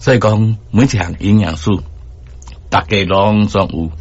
所以講每一項營養素，逐家攏總有，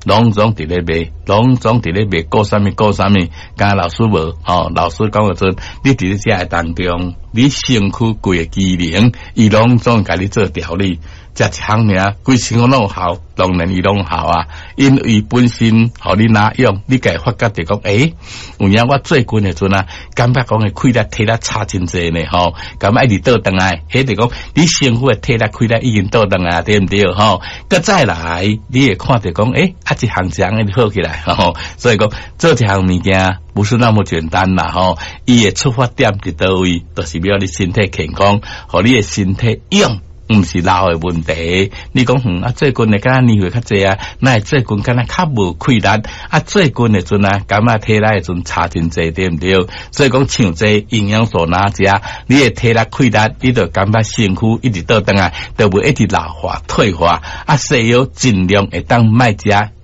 攏總佇咧賣，攏總佇咧賣，顧啥物顧啥物，敢老師無吼？老師講的陣，你佇咧食的當中，你身軀規个機能，伊攏總共你做調理。食一項爾，規身軀攏有效，當然伊攏有效啊。因為本身予你哪用，你會發覺著講，欸，有影我最近的陣啊，感覺講的氣力體力差真濟呢，吼，感覺一直倒轉來，彼就講你身軀的體力氣力已經倒轉來，對毋對？吼，閣再來，你會看著講，欸，啊，一項一項一直好起來，吼，所以講做一項物件不是那麼簡單啦，吼，伊的出發點佇佗位，就是欲你身體健康，予你的身體勇。毋是老的問題，你講啊，最近的敢若年歲較濟啊，哪會最近敢若較無氣力？啊，最近的陣啊，感覺體力的陣差真濟，對毋對？所以講像這營養素若食，你的體力氣力，你就感覺身軀一直倒轉來，就袂一直老化退化。啊，西藥盡量會當莫食，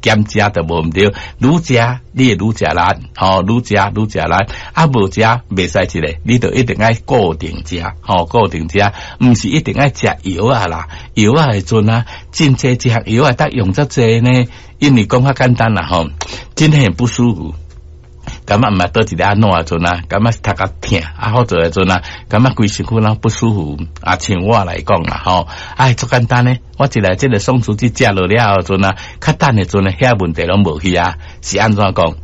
減食就無毋對。愈食你會愈食力，吼，愈食愈食力。啊，無食袂使一个，你就一定愛固定食，吼，固定食，毋是一定愛食藥仔啦。藥仔的陣啊，真濟一項藥仔得用遮濟呢，因為講較簡單啦，吼，真很不舒服。感覺毋捌佗一个按怎的陣啊，感覺頭殼疼啊，好做的陣啊，感覺規身軀攏不舒服啊。像我來講啦，吼，哎，足簡單呢。我一來這個鬆弛劑食落了後陣啊，較等的陣啊，遐問題攏無去啊。是按怎講？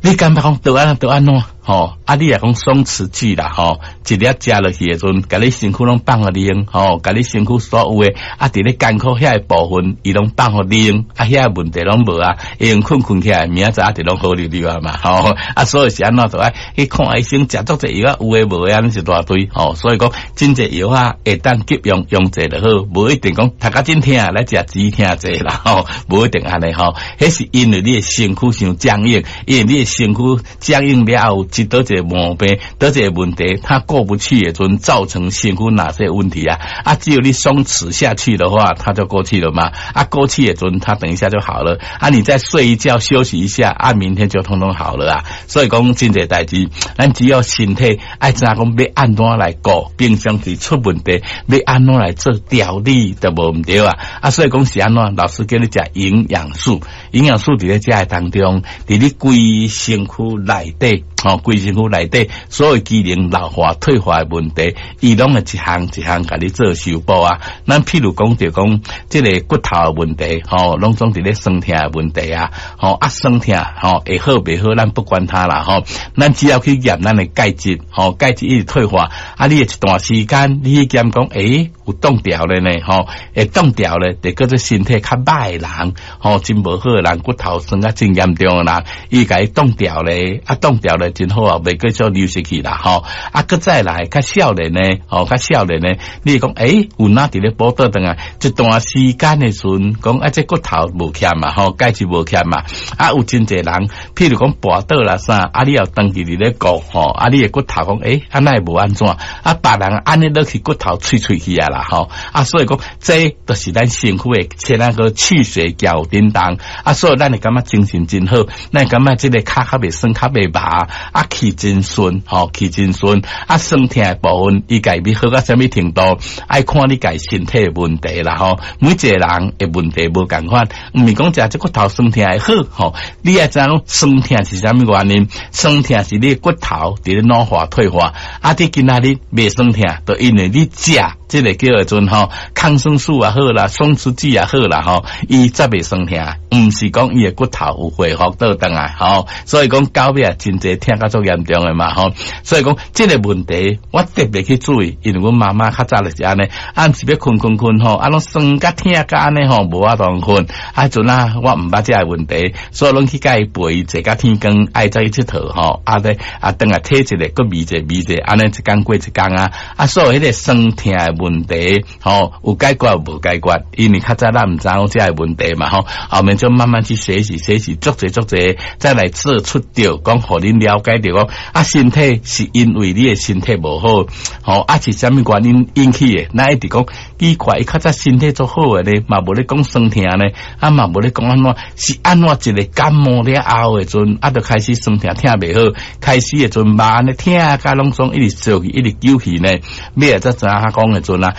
你感覺講著按著按怎？吼，啊！你若講鬆弛劑啦，吼，一粒食落去的陣，共你身軀攏放予你用，吼，共你身軀所有的啊，佇咧艱苦遐個部分，伊攏放予你用，啊，遐個問題攏無啊，會用睏睏起來，明仔載啊，就攏好溜溜啊嘛，吼，啊，所以是按怎就愛去看醫生，食足濟藥啊，有的無的，按呢一大堆，吼，所以講真濟藥啊，會當急用用濟就好，無一定講頭殼真疼來食止疼劑啦，吼，無一定按呢吼，彼是因為你的身軀傷僵硬，因為你的身軀僵硬了後。是佗一個毛病，佗一個問題，它過不去的陣，造成身軀哪些問題啊？啊，只有你鬆弛下去的話，它就過去了嘛。啊，過去的陣，它等一下就好了。啊，你再睡一覺休息一下，啊，明天就通通好了啊。所以講真濟代誌，咱只要身體愛知影講欲按怎來顧，平常時出問題欲按怎來做調理都無毋對啊。啊，所以講是按怎，老師叫你食營養素，營養素佇咧食的當中，佇你規身軀內底。吼，規身軀內底所有機能老化退化的問題，伊攏會一項一項共你做修補啊。咱譬如講著講，這个骨頭的問題，吼，攏總佇咧酸疼的問題啊，吼啊酸疼，吼會好袂好，咱不管它啦，吼，咱只要去驗咱的鈣質，吼，鈣質一直退化，啊，你會一段時間，你去檢講，欸，有凍掉了呢，吼，會凍掉咧，就叫做身體較歹的人，吼，真無好的人，骨頭酸甲真嚴重的人，伊共伊凍掉咧，啊，凍掉咧。真好啊，袂繼續流失去啦，吼！啊，閣再來較少年呢，吼，較少年呢，你會講，欸，有哪佇咧補倒轉來，一段時間的時陣，講啊，這骨頭無欠嘛，吼，鈣質無欠嘛，啊，有真濟人，譬如講跋倒啦啥，啊，你又長期佇咧顧，吼，啊，你的骨頭講，欸，啊，哪會無按怎？啊，別人按呢落去骨頭脆脆去啊啦，吼，啊，所以講，這就是咱身軀的前那個氣血交叮當，啊，所以咱會感覺精神真好，咱會感覺這个跤較袂酸，較袂麻。啊，氣真順，吼，氣真順。啊，酸疼的部分，伊家欲好到啥物程度，愛看你家身體的問題啦，吼。每一個人的問題無仝款，毋是講食這骨頭酸疼會好，吼。你愛知影酸疼是啥物原因？酸疼是你的骨頭佇咧老化退化。啊，你今仔日袂酸疼，就因為你食這个叫做吼抗生素也好啦，鬆弛劑也好啦，吼，伊才袂酸疼，毋是講伊的骨頭有恢復倒轉來，吼。所以講到尾啊，真濟疼甲足嚴重的嘛，吼。所以講這个問題，我特別去注意，因為阮媽媽較早就是按呢，暗時欲睏睏睏吼，啊，攏酸甲疼甲按呢吼，無法度睏。啊，陣啊，我毋捌這个問題，所以攏去共伊陪坐甲天光，愛走去𨑨迌吼，啊咧啊，轉來體一下，閣糜者糜者，按呢一工過一工啊，啊，所以彼个酸疼的問題，吼，有解決無解決？因為較早咱毋知影這个問題嘛，吼，後面就慢慢去學習學習，足濟足濟，再來做出著講，予恁了解著講，啊，身體是因為你的身體無好，吼，啊是啥物原因引起的？咱一直講奇怪，伊較早身體足好的咧，嘛無咧講酸疼呢，啊嘛無咧講按怎，是按怎一個感冒了後的陣，啊，就開始酸疼疼袂好，開始的陣肉按呢疼甲攏總一直燒去，一直揪去呢，尾仔才知影講的陣啊。